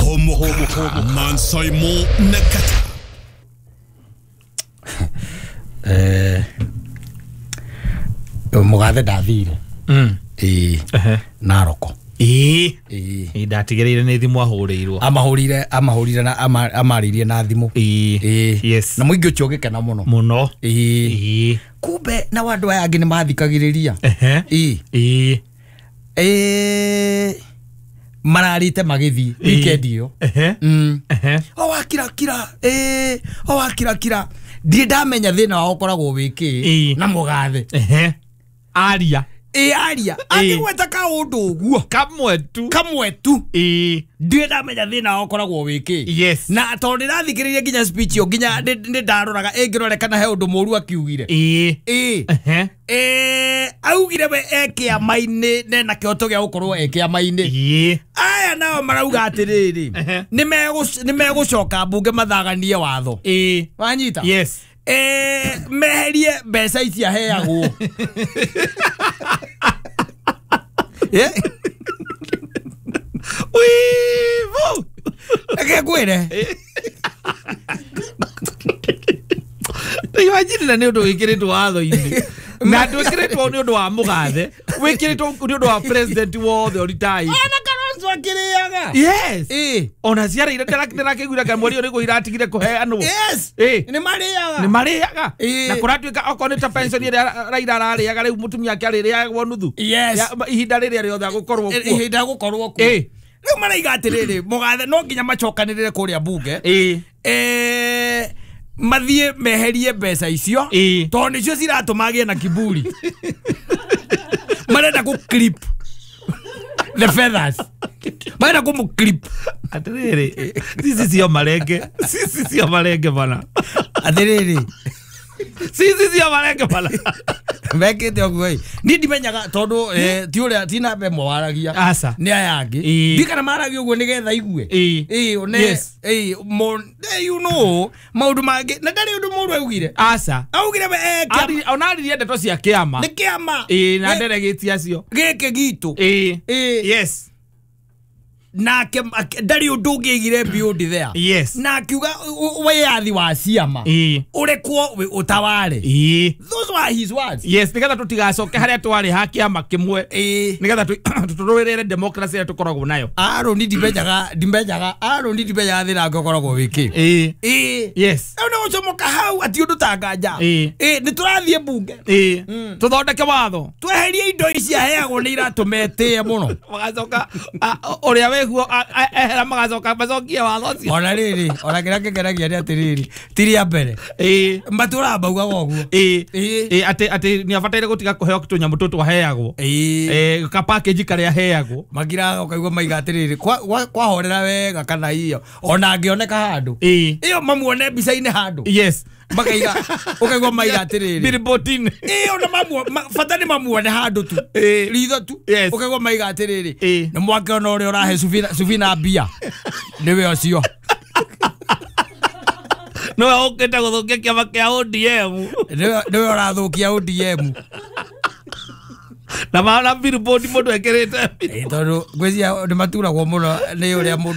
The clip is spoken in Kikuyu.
Homo Mansaimo Nakata. Mugathe ndathire. Naroko. Ndatigĩrĩire nĩ thimũ ahũrĩirwo. Amahũrire na amarĩirie na thimũ. Yes. Na mũingĩ ũcio ũgĩkena mũno. Mũno. Kumbe na andũ aya angĩ nĩ mathikagĩrĩria. Mararĩte magĩthiĩ weekend ĩyo. O wakira kira. O wakira kira. Ndirĩ ndamenya thĩna wao ũkoragwo wĩ kĩ na Mũgathe. Aria. Aria. Angĩgweta kaũndũ ũguo. Kamwe tu. Ndirĩ ndamenya thĩna wao ũkoragwo wĩ kĩ. Yes. Na tondũ ndĩrathikĩrĩria nginya speech ĩyo nginya nĩ ndaroraga ĩngĩrore kana he ũndũ mũru akiugire. Augire we e kĩama-inĩ nena kĩhoto gĩa gũkorwo e kĩama-inĩ. Aya nao marauga atĩrĩrĩ, nĩ megũcoka mbunge mathaganie watho. Wanyita? Yes. Meherie mbeca ici aheagwo. Wivu. Reke ngwĩre. Imagine na nĩ ũndũ wĩkĩrĩtwo watho-inĩ. Na ndwĩkĩrĩtwo nĩ ũndũ wa Mũgathe, wĩkĩrĩtwo nĩ ũndũ wa president wothe ũritaĩ. Ona Kalonzo akĩrĩaga. Yes. Ona ciara ndĩrakĩiguire kana mweri ũrĩkũ iratigire kũheanwo. Yes. Nĩ marĩaga. Nĩ marĩaga. Na kũratuĩka okorwo nĩ ta pension ĩrĩa Raila ararĩaga rĩu mũtumia ake arĩrĩagwo nuthu. Yes. Ihinda rĩrĩa rĩothe agũkorwo kuo. Ihinda agũkorwo kuo. Rĩu maraiga atĩrĩrĩ, Mũgathe no nginya macokanĩrĩre kũrĩa mbunge. Mathiĩ meherie mbeca icio tondũ nĩcio ciratũma agĩe na kiburi. Marenda kũ clip the feathers. Marenda kũmũ clip. Atĩrĩrĩ, sisi sio marenge. Sisi sio marenge bana. Atĩrĩrĩ. Sisi sio marenge bana. Mekĩte ũguo ĩ. Niĩ ndimenyaga tondũ ti ũrĩa ti namba ĩmwe waragia. Aca. Nĩ aya angĩ. Ndikana maragia ũguo nĩgetha igue. Yes. You know maũndũ mangĩ na ndarĩ ũndũ mũũru augire. Aca. Augire we ona aririe ndeto cia kĩama. Nĩ kĩama. Na nderegĩti acio. Gĩkĩ gitũ. Yes. Nake ndarĩ ũndũ ũngĩigire beyond there. Yes. Na akiuga wĩyathi wa ciama ũrekwo ũtaware. Those were his words. Yes, nĩgetha tũtigacoke harĩa twarĩ ha kĩama kĩmwe. Nĩgetha tũrũĩrĩre democracy ĩrĩa tũkoragwo nayo. Aaron ndimenyaga Aaron ndimenyaga thĩna ũngĩ ũkoragwo wĩ kĩ. Yes. Rĩu nĩ gũcomoka hau ati ũndũ ta nganja. Nĩ tũrathiĩ mbunge. Tũthondeke watho. Tweherie indo ici aheagwo nĩ iratũma etĩe mũno. Magacoka ũrĩa wĩguo ehera magacoka macokie watho ũcio. Ona rĩrĩ, ona kĩrĩa kĩngenagia nĩ atĩrĩrĩ, ti rĩa mbere. Matũraga maugaga ũguo. Atĩ nĩ abataire gũtiga kũheo tũnyamũ tũtũ aheagwo. Ka package karĩa aheagwo. Makiraga ũkaigua maiga atĩrĩrĩ, kwahorera wega kana iyo ona angĩoneka handũ. Ĩyo mamuone mbica-inĩ handũ. Yes. Makaiga ũkaigua maiga atĩrĩrĩ. Billboard-inĩ. Ona bata nĩ mamuone handũ tu. Ritho tu. Ũkaigua maiga atĩrĩrĩ. Nĩ mwakĩona ũrĩa ũrahe Sufina mbia. Nĩwe ũcio. Nĩwe ũkĩte gũthũkia kĩama kĩa ODM. Nĩwe ũrathũkia ODM. Na maona billboard mũndũ ekĩrĩte. Tondũ ngwĩciria nĩ maturagwo mũno nĩ ũrĩa mũndũ